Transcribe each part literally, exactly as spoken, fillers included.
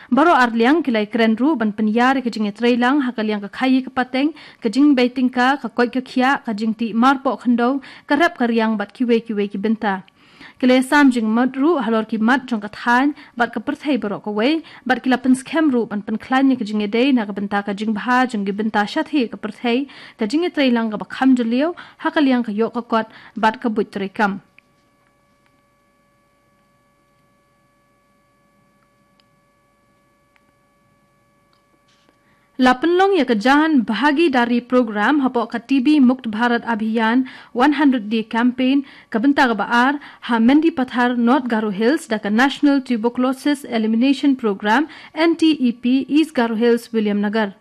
Baroh arliang ki la ïakren ruh ban pynïar ïa ka jingïatreilang ha ka liang ka khaïi ka pateng, ka jingbei tyngka, ka koit ka khiah, ka jingtih marpoh khyndew, ka rep ka riang bad kiwei kiwei ki bynta. Ki la ïasam jingmut ruh halor ki mat jong ka thaiñ bad ka pyrthei baroh kawei, bad ki la pynskhem ruh ban pynkhlaiñ ïa ka jingïadei na ka bynta ka jingbha jong ki bynta shathie ka pyrthei, ka jingïatreilang kaba kham jylliew ha ka liang ka ïoh ka kot bad ka buit treikam. La pynlong ïa ka Jan Bhagidari Program hapoh ka T B Mukt Bharat Abhiyan one hundred Day Campaign, ka bynta kaba ar, ha Mendipathar, North Garo Hills, da ka National Tuberculosis Elimination Program, N T E P, East Garo Hills, Williamnagar.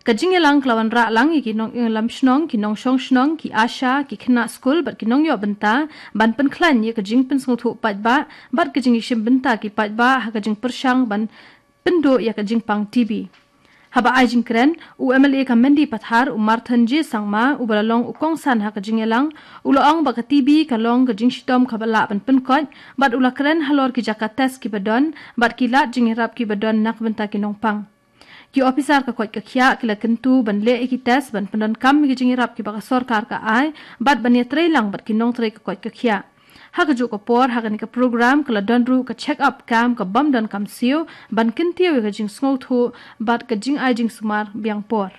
Ka jingïalang ka la wanrah lang ïa ki nongïalam shnong, ki nongshong shnong, ki ASHA, ki khynnah skul bad ki nongïoh bynta, ban pynkhlaiñ ïa ka jingpynsngewthuh paidbah bad ka jingïashim bynta ki paidbah ha ka jingpyrshang ban pynduh ïa ka jingpang T B. Haba ai jingkren, u M L A ka Mendipathar, u Marthon J Sangma, uba la long u kongsan ha ka jingïalang, u la ong ba ka T B ka long ka jingshitom kaba lah ban pynkoit, bad u la kren halor ki jaka test kiba don bad ki lad jingïarap kiba don na ka bynta ki nongpang. Ki ophisar ka koit ka khiah ki la kyntu ban leh ïa ki test ban pyndonkam ïa ki jingïarap kiba ka sorkar ka ai, bad ban ïatreilang bad ki nongtrei ka koit ka khiah. Ha kajuh ka por, ha kane ka program ka la don ruh ka check up camp ka bym don kam siew ban kyntiew ïa ka jingsngewthuh bad ka jingai jingsumar biang por.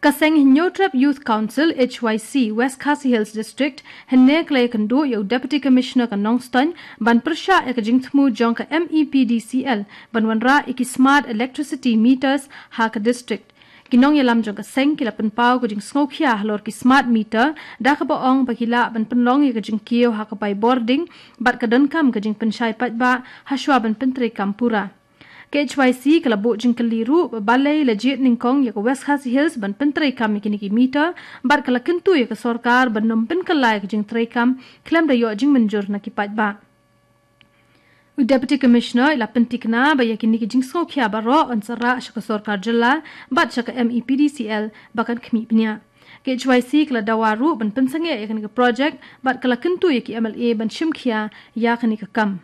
Ka seng Hynñiewtrep Youth Council, H Y C, West Khasi Hills District, hynne ka la ïakynduh ïa u Deputy Commissioner ka Nongstoiñ ban pyrshah ïa ka jingthmu jong ka M E P D C L ban wanrah ïa ki smart electricity meters ha ka district. Ki nongïalam jong ka seng ki la pynpaw ka jingsngewkhia halor ki smart meter, da kaba ong ba ki lah ban pynlong ïa ka jingkiew ha ka bai bording bad ka donkam ka jingpynshai paidbah hashwa ban pyntreikam pura. Ka H Y C ka la buh jingkylli ruh ba balei la jied nyngkong ïa ka West Khasi Hills ban pyntreikam ïa kine ki meter, bad ka la kyntu ïa ka sorkar ban nym pynkylla ïa ka jingtreikam khlem da ïoh jingmynjur na ki paidbah. U Deputy Commissioner i la pynthikna ba ïa kine ki jingsngewkhia baroh yn sa rah sha ka sorkar jylla bad sha ka M E P D C L ba kan khmih bniah. Ka H Y C ka la dawa ruh ban pynsangeh ïa kane ka project bad ka la kyntu ïa ki M L A ban shimkhia ïa kane ka kam.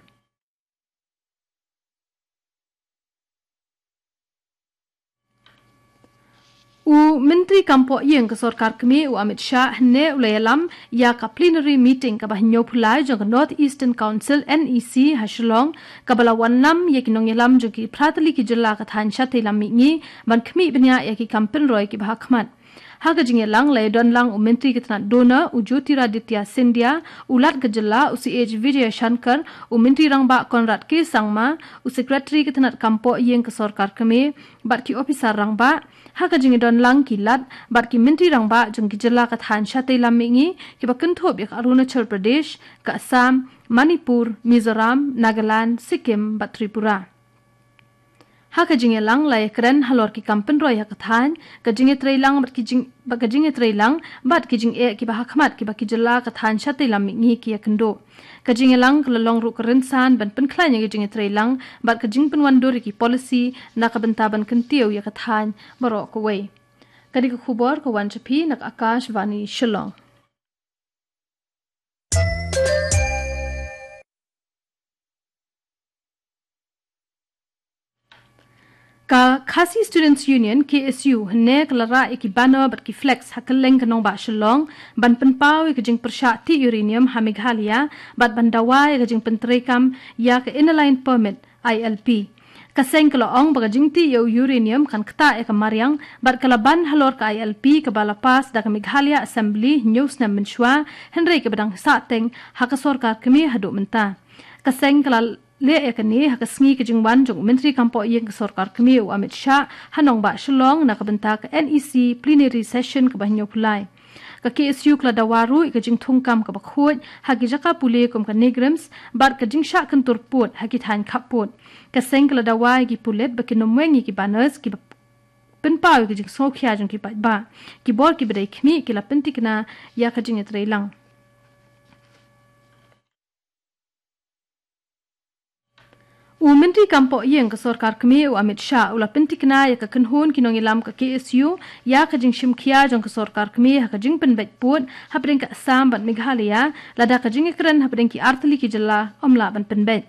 U Myntri Kam Pohïing ka Sorkar Kmie, u Amit Shah, hynne u la ïalam ïa ka plenary meeting kaba hynñiewphew lai jong ka North Eastern Council, N E C, ha Shillong, kaba la wanlam ïa ki nongïalam jong ki phra tylli ki jylla ka thaiñ shatei lam mihngi ban khmih bniah ïa ki kam pynroi kiba ha khmat. Ha ka jingïalang la ïadon lang u Myntri ka tnat DoNER, u Jyotiraditya Scindia, u Lat ka jylla, u C H Vijayashankar, u Myntri Rangbah Conrad K Sangma, u Secretary ka tnat Kam Pohïing ka Sorkar Kmie, bad ki ophisar rangbah. Ha ka jingïadon lang ki Lat bad ki Myntri Rangbah jong ki jylla ka thaiñ shatei lam mihngi, kiba kynthup ïa ka Arunachal Pradesh, ka Assam, Manipur, Mizoram, Nagaland, Sikkim bad Tripura. Ha ka jingïalang la ïakren halor ki kam pynroi ha ka thaiñ, ka jingïatreilang bad ki jing, bad ka jingïatreilang bad ki jingeh kiba ha khmat kiba ki jylla ka thaiñ shatei lam mihngi ki ïakynduh. Ka jingïalang ka la long ruh ka rynsan ban pynkhlaiñ ïa ka jingïatreilang bad ka jingpynwandur ïa ki policy na ka bynta ban kyntiew ïa ka thaiñ baroh kawei. Kane ka khubor ka wan sha phi na ka Akashvani Shillong. Ka Khasi Students Union, K S U, hynne ka la rah ïa ki banner bad ki flex ha kylleng ka nongbah Shillong ban pynpaw ïa ka jingpyrshah tih uranium ha Meghalaya bad ban dawa ïa ka jingpyntreikam ïa ka Inner Line Permit, I L P. Ka seng ka la ong ba ka jingtih ïa u uranium kan ktah ïa ka mariang bad ka la ban halor ka I L P kaba la pass da ka Meghalaya Assembly hynñiew snem mynshuwa, hynrei kaba dang sahteng ha ka sorkar kmie haduh mynta. Ka seng ka la leh ïa kane ha ka sngi ka jingwan jong u Myntri Kam Pohïing ka Sorkar Kmie, u Amit Shah, ha nongbah Shillong na ka bynta ka N E C plenary session kaba hynñiewphew lai. Ka K S U ka la dawa ruh ïa ka jingthungkam kaba khuid ha ki jaka pule kum ka NEIGRIHMS bad ka jingshah kyntur pud ha ki thaiñ khappud. Ka seng ka la dawa ïa ki pulit ba kin nym weng ïa ki banners kiba pynpaw ïa ka jingsngewkhia jong ki paidbah. Ki bor kiba dei khmih ki la pynthikna ïa ka jingïatreilang. U Myntri Kam Pohïing ka Sorkar Kmie, u Amit Shah, u la pynthikna ïa ka kynhun ki nongïalam ka K S U ïa ka jingshimkhia jong ka Sorkar Kmie ha ka jingpynbeit pud hapdeng ka Assam bad Meghalaya, lada ka jingïakren hapdeng ki artylli ki jylla ym lah ban pynbeit.